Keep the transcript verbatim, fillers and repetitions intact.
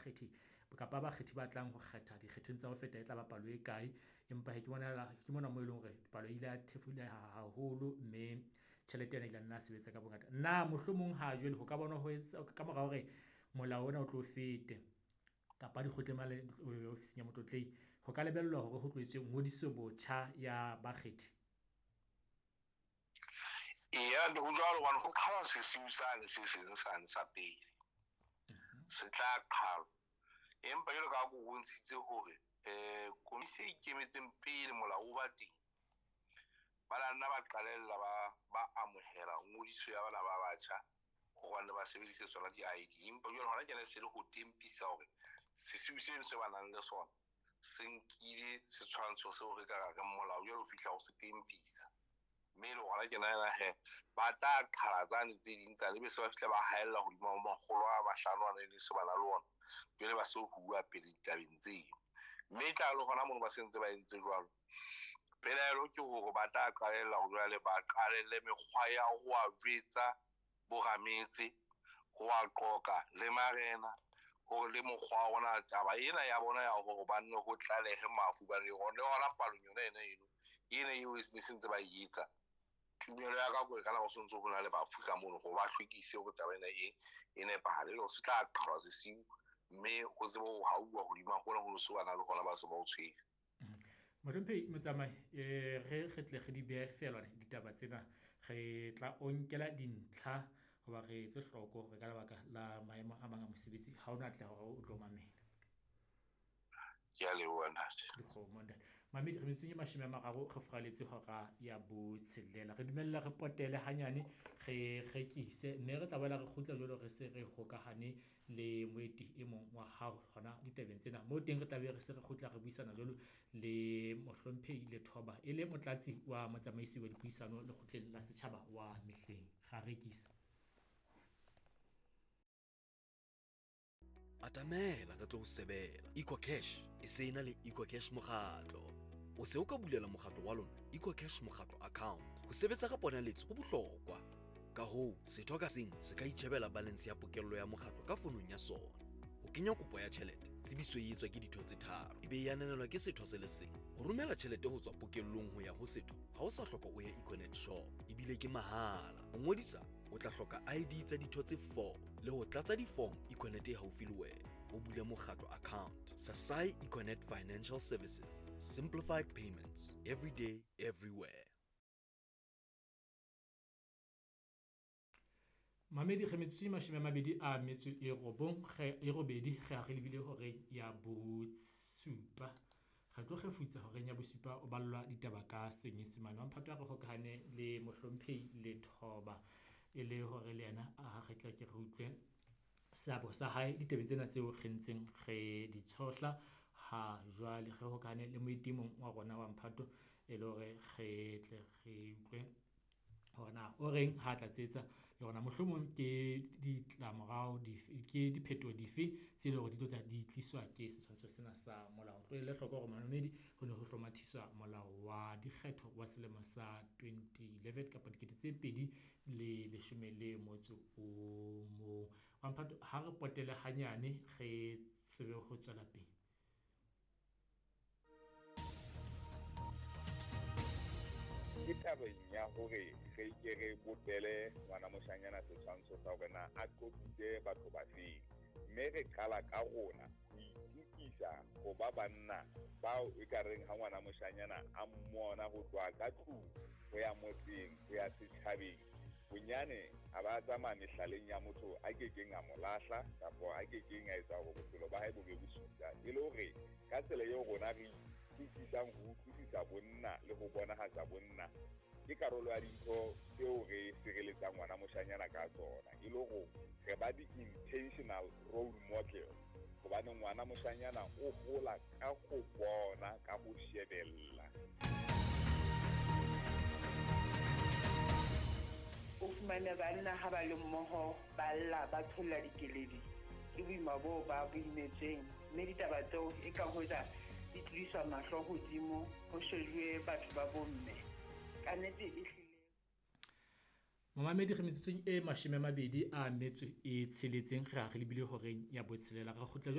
bakgethi kapa bakgethi ba tlang ho kgetha dikgethong tsa ho feta e tlaba palo e kae. Empa hee ke bona ke mona moo eleng hore palo e ile ya thefuleha haholo mme tjhelete ena e ile nna sebetsa ka bongata. Na mohlomong ha jwale ho ka bona ho etsa kamora hore molao ona o tlo fete kapa dikgotleng mane ofising ya Motlotlehi. Ho ka lebellwa hore ho tlo etswe ngodiso botjha ya bakgethi? Eya, ho jwalo hobane ho qhalwa sesiu sane se seng sane sa pele. Se tla qhalwa. Empa jwalo ka ha ko bontshitse hore eh komisi e ikemetseng pele molao o ba teng, ba la nna ba qalella ba ba amohela ngodiso ya bana ba batjha hobane ba sebedise tsona di-I D. Empa jwale hona tjena se le ho tempisa hore sesiu seno se ba nang le sona se nkile setshwantsho seo re ka re reng molao jwale o fihla ho se tempisa. Mme le hona tjena ena he, ba tla qhala tsane tse ding tsane, ebe se ba fihla ba haella hodima makgolo a mahlano ana e le se ba na le ona. Jwale ba se ho bua pele ditabeng tseo. Mme e tla le hona mono ba se ntse ba entse jwalo. Pelaelo ke hore ba tla qalella hore jwale ba qalelle mekgwa ya ho a jwetsa borametse, ho a qoqa le marena, hore le mokgwa wa rona taba ena ya bona ya hore ba nne ho tlalehe mafu ba le hona, le hona palong yona ena eno, ena eo e se ntse ba e etsa. Tumelo ya ka ke ka nako se ntse ho na le bafu ka mono hore ba hlwekise hore taba ena e, e nepahale, le hore se tla qhalwa sesiu, mme ho tsebe ho hauwa hodima hona ho se ba na le hona ba se ba o tshwere. Mohlomphehi Motsamai, eh re re tle re di behe feela ditaba tsena, re tla o nkela dintlha hoba re etse hloko hore ka lebaka la maemo a mang a mosebetsi ha ona atleha hore o tlo mamela. Ke a leboha ntate. Dikgomo ntate. Mamedi, re metsong e mashome a mararo re furaletse hora ya botshelela. Re dumella re potele hanyane, re rekise mme re tla boela re kgutla jwalo re se re hokahane le moeti e mong wa hao hona ditabeng tsena. Moo teng re tla be re se re kgutla re buisana jwalo le Mohlomphehi Lethoba e le motlatsi wa motsamaisi wa dipuisano lekgotleng la setjhaba wa mehleng. Ra rekisa. Atamela ka tlo ho sebela. EcoCash e se ena le EcoCash mokgatlo. O se o ka bulela mokgatlo wa lona EcoCash mokgatlo account. Ho sebetsa ka ponaletso ho bohlokwa. Ka hoo, setho ka seng se ka itjhebela balance ya pokello ya mokgatlo ka fonong ya sona. Ho kenya kopo ya tjhelete, tsebiso e etswa ke ditho tse tharo, ebe e ananelwa ke setho se le seng. Ho romela tjhelete ho tswa pokellong ho ya ho setho, ha o sa hloka o ye Econet shop, ebile ke mahala. Ho ngodisa, o tla hloka I D tsa ditho tse four le ho tlatsa di-form Econet e haufi le wena. O bule mokgatlo account. Sasai Econet Financial Services. Simplified payments. Every day, everywhere. Mamedi, re metsotso e mashome a mabedi a metso e robong, re e robedi, re ha re lebile horeng ya bosupa. Re tlo kgefutsa horeng ya bosupa o ballwa ditaba ka Senyesemane. Wa Mphato a re hokahane le Mohlomphehi Lethoba e le hore le yena a re tla ke re utlwe seabo sa hae ditabeng tsena tseo re ntseng re di tshohla ha jwale. Re hokahane le moeti mong wa rona wa Mphato e le hore re tle re utlwe hore na o reng ha tlatsetsa le hore na mohlomong ke ditlamorao dife, ke diphetoho dife tse leng hore di tlo tla di tliswa ke setshwantsho sena sa molao. Tlohelle hloko hore mamedi ho ne ho hlomathiswa molao wa dikgetho wa selemo sa twenty eleven kapa dikete tse pedi le leshome le motso o mong. Wa Mphato, ha re potele hanyane re tsebe ho tswela pele. Ke tabeng ya hore re ke re botele ngwana moshanyana setshwantsho sa hore na a qobitse batho ba feng, mme re qala ka rona ho itukisa ho ba banna bao e ka reng ha ngwana moshanyana a mmona ho tloha ka tlung ho ya motseng ho ya setjhabeng, bonyane a ba tsamaya mehlaleng ya motho a kekeng a mo lahla kapa a kekeng a etsa hore bophelo ba hae bo be bosula. E le hore ka tsela eo rona re utlwisisang ho utlwisisa bonna le ho bonahatsa bonna ke karolo ya dintho tseo re sireletsang ngwana moshanyana ka tsona, e le hore re ba di-intentional role model, hobane ngwana moshanyana o hola ka ho bona, ka ho shebella. O fumane banna ha ba le mmoho ba lla, ba tsholla dikeledi, ke boima boo ba bo imetseng, mme ditaba tseo e ka hoja di tlisa mahlo hodimo ho shejuwe batho ba bomme. Ka nnete e hlile. Momamedi, re metsotsong e mashome a mabedi a metso e tsheletseng, re ha re lebile horeng ya botshelela. Re kgutla